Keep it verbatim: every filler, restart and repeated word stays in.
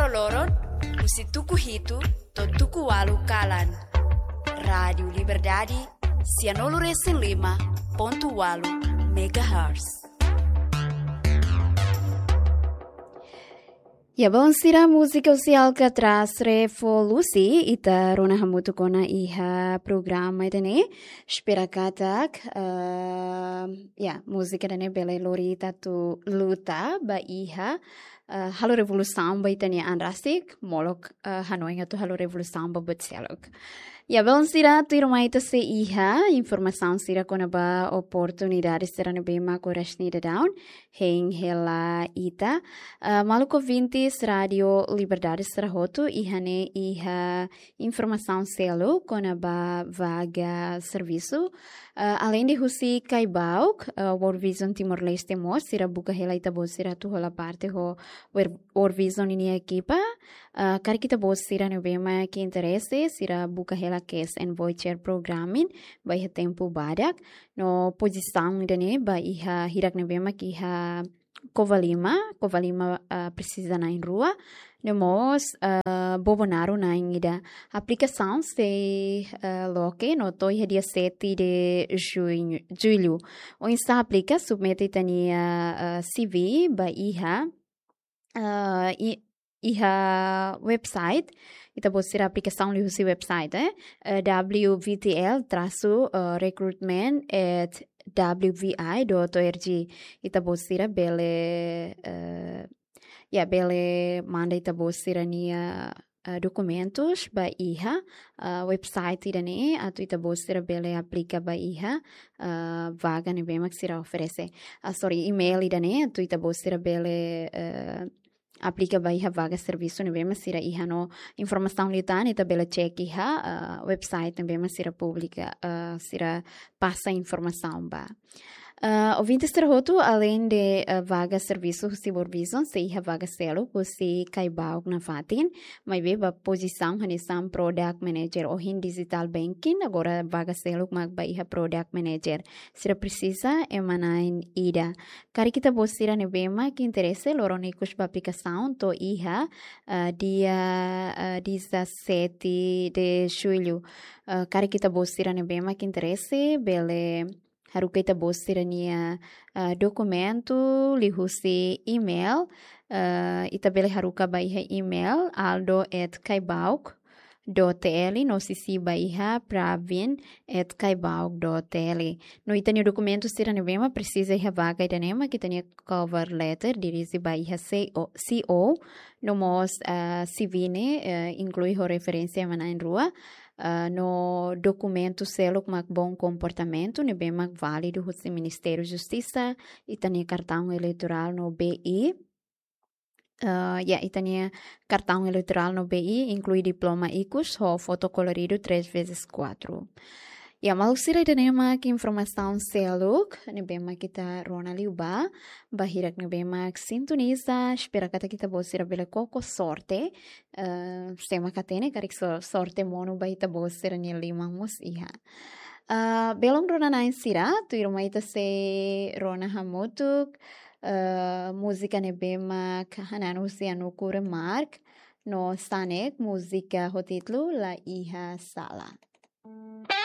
loron, husi tuku hitu to'o tuku ualu kalan. Rádiu Liberdade, sianulu resin lima pontu ualu megahertz. Ya, balun sira, múzika husi Alcatraz Revolusi, ita rona hamutuk ona iha programa ida-ne'e. Espera katak, eh, ya, múzika ida-ne'e bele lori ita atu luta ba iha, eh, halo revolusaun ba ita-nia an rasik, molok, eh, hanoin atu halo revolusaun ba buat seluk. Ya, balun sira, tuirmai ita sei iha informasaun sira kona-ba oportunidade sira ne'ebé mak oras ne'e daudaun hein hela ita. Eh, maluk ouvintes Rádiu Liberdade sira hotu, iha ne'e iha informasaun seluk kona-ba vaga servisu. Eh, aleinde husi Caibauk, eh, World Vision Timor-Leste mós, sira buka hela ita-boot sira atu hola parte ho Wor-, World Vision ninia ekipa. Eh, karik ita-boot sira ne'ebé mak interese, sira buka hela Cash and Voucher Programming, ba iha tempu badak. No pozisaun ida-ne'e, ba iha hirak ne'ebé mak iha Covalima, Covalima, ah, presiza na'in rua. No mós, ah, Bobonaro na'in ida. Aplikasaun sei, ah, loke no to'o iha dia sete de junho, julho. Oinsá aplika, submete ita-nia, ah, C V ba iha, ah, i-, iha website, ita-boot sira aplikasaun liuhusi website, eh, eh, W V T L trasu, eh, recruitment at W V I dot O R G. Ita-boot sira bele, eh, ya, bele manda ita-boot sira-nia, eh, dokumentus ba iha, eh, website ida-ne'e, atu ita-boot sira bele aplika ba iha, eh, vaga ne'ebé mak sira oferese. Ah, sorry, email ida-ne'e, atu ita-boot sira bele, eh, aplika ba iha vaga servisu ne'ebé mak sira iha no informasaun liután ita bele cek iha, ah, website ne'ebé mak sira publika, ah, sira pasa informasaun ba. Ah, ouvintes sira hotu, aleinde, ah, vaga servisu husi World Vision, sei iha vaga seluk husi Caibauk nafatin, maibé ba pozisaun hanesan product manager ohin digital banking, agora vaga seluk mak ba iha product manager. Sira presiza ema na'in ida. Karik ita-boot sira ne'ebé mak interese, loron ikus ba aplikasaun to'o iha, ah, dia, ah, dezasete de julho. Ah, karik ita-boot sira ne'ebé mak interese, bele haruka ita-boot sira-nia, ah, dokumentu liuhusi email. Ah, ita bele haruka ba iha email aldo at caibauk dot T L, no sisi ba iha pravin at caibauk dot T L. No ita-nia dokumentu sira ne'ebé mak presiza iha vaga ida-ne'e mak ita-nia cover letter dirije ba iha C O, C O, no mós, ah, C V ne'e, eh, inklui ho referénsia ema na'in rua, ah, no dokumentu seluk mak bom comportamento, ne'ebé mak válidu husi Ministériu Justisa, ita-nia kartaun eleitorál no B I, ah, ya, ita-nia kartaun eleitorál no B I, inklui diploma ikus ho foto koloridu três vezes quatro. Ya, maluk sira, ida-ne'e mak informasaun seluk ne'ebé mak ita rona liu ba, ba hirak ne'ebé mak sintoniza, espera katak ita-boot sira bele koko sorte, eh, sé mak hatene karik so-, sorte monu ba ita-boot sira-nia liman mós iha. Ah, belun rona-na'in sira, tuirmai ita sei rona hamutuk, eh, múzika ne'ebé mak hanan husi Anuku Remark, no Sanek, múzika ho títulu La Iha Sala.